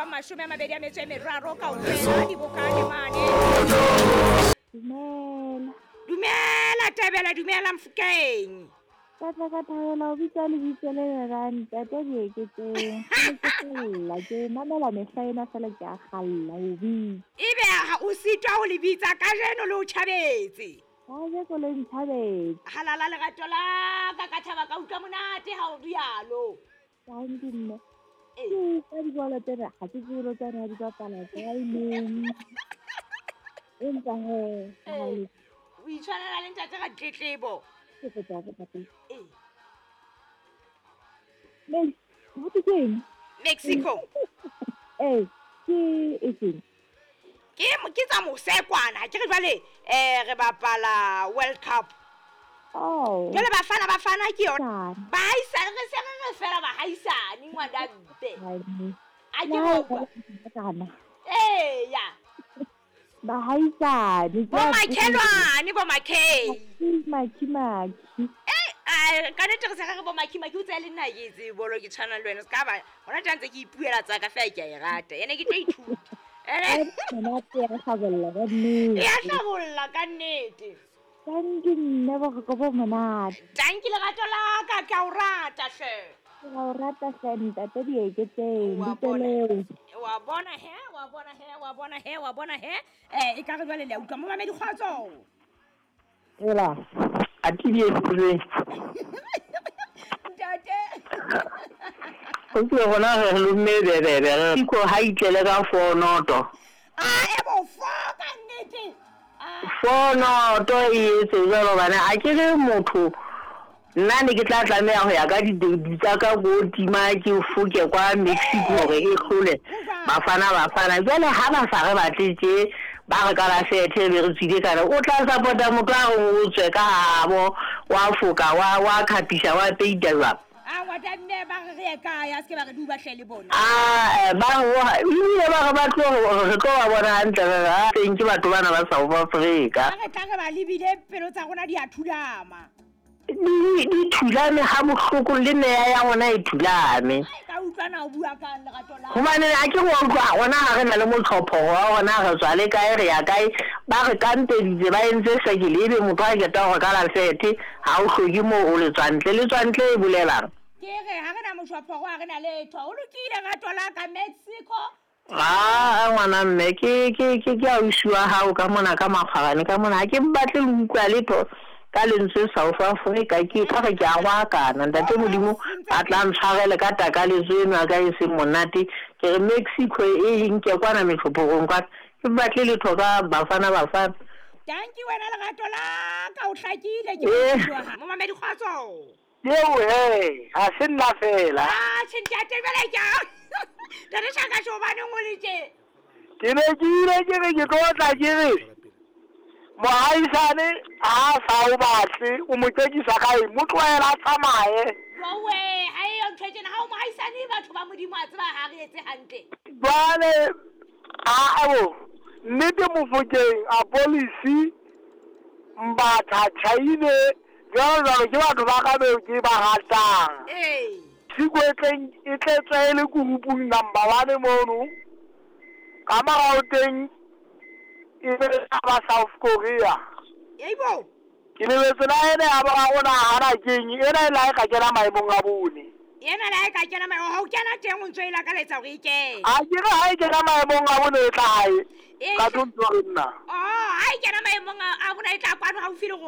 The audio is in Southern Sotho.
23 kaofela dibokane mane. Dumela. Dumela Tebela, dumela Mofokeng. Ka tla ka thabela ho bitsa lebitso le lerang ntate Dieketseng. Ke ne ke kgalla, ke mamela mehla ena fela ke a kgalla ho bitsa. Ebe ha o sitwa ho le bitsa kajeno le o tjhabetse. Kajeko le ntjhabetse. Halala lerato la ka, ka thaba ka utlwa monate ha o rialo. Tanki mme. Ke utlwa dibolo tsena, ha ke tsebe le tsona di bapala kae neng. Empa hee, ha le O itshwanela le ntate Ratletlebo. Ke kopa hore ntate. Ho thwe ke eng? Mexico. Ee, ke e feng? Ke tsa mose kwana. Ke re jwale re bapala World Cup. Oh. Jwale Bafana Bafana ke yona. Bahaisane re se re re fela bahaisane ngwana mpe. A ke Le ha utlwa. e kana. Eya. Bahaisane. Bo makhelwane, bo makhei. Makhi makhi. Eh, ka nnete re se re re bo makhi makhi, o tsaya le nna ke tsebe bolo ke tshwana le wena. Se ka ba hona tja ntse ke ipuela tsa ka fela ke a e rata. Ene ke tlo ithuta. Ene Monate ya hlabolla ka nnete. Ya hlabolla ka nnete. Tanki mme boroko bo monate. Tanki lerato la ka, ke a o rata hle. Ke a o rata hle ntate Dieketseng, Wa bitso bona. leo. Wa bona he, wa bona he, wa bona he, wa bona he. E ka re jwale le a utlwa momamedi kgotso. Ela, a ke di etseng. Ntate. O ke rona re lomme bebebe re iko ha itlele ka 4-0. A e bo 4 ka nnete. 4-0 e etse jwalo bana a ke re motho nna ne ke tla tlameha ho ya ka di tsa ka go tima ke foke kwa Mexico hore e hlole Bafana Bafana. Jwale ha ba sa re batle tje ba re ka la sethe be re tswile kana o tla support-a motho a reng o tswe ka habo wa foka wa khapisa wa peita jwang. A ngwana mme ba re re ye kae, a se ke ba re duba hle le bona. A ba re ebile ba re ba tlo re tlo ba bona hantle re re a teng ke batho bana ba South Africa. Ha re tla re ba lebile pelo tsa rona di a thulama. Di thulame ha bohloko le meya ya rona e thulame. Ai ka utlwana o bua kang lerato la. Hobane ha ke go utlwa rona ha re na le motlhopho wa rona re tswa le kae re ya kae ba re kampeditse ba entse sekele ebe motho a keta hore ka la sethe ha o hloke moo o le tswantle le tswantle e bolelang. Ke re ha re na motlhopho ha re na letho o lokile rato la ka Mexico. Ah ngwana mme ke ausi wa hao ka mona ka makgwarane ka mona ha ke batle le utlwa letho ka lentswe South Africa ke ka re ke a roakana ntate Modimo a tla ntshwarele ka takaletso eno ya ka e seng monate ke re Mexico e nke kwana metlhophorong kwana ke batle letho ka Bafana Bafana. Tanki wena lerato la ka o hlakile ke utlwa momamedi kgotso. Eo he ha se nna fela. Ah tjhe ntate jwale ke Ntate Shaka hobaneng o le tje? Ke ne ke ile ke re ke tlo tla ke re mohaisane ha sa o batle o mo tsekisa kae mo tlohela a tsamaye. Jowe ha eyo ntho e tjena ha o mohaisane batho ba Modimo a tseba ha re etse hantle. Jwale a bo nnete Mofokeng a policy Mbatha Chaine jwalo jwalo ke batho ba ka beo ke ba ratang. Ee. Tshiko e tleng e tletse e le kurupung number 1 mono. Ka morao teng e be ba South Korea. Eibo. Ke lebetse la ene ya boraro na hana keng ena e la e ka kena maemong a bone. Ena la e ka kena maemong ha o kena teng o ntso e lakaletsa hore e kene. A ke re ha e kena maemong a bone e tla hae. Ka tlo ntso re nna. Oh, ha e kena maemong a bone e tla kwano haufi le rona.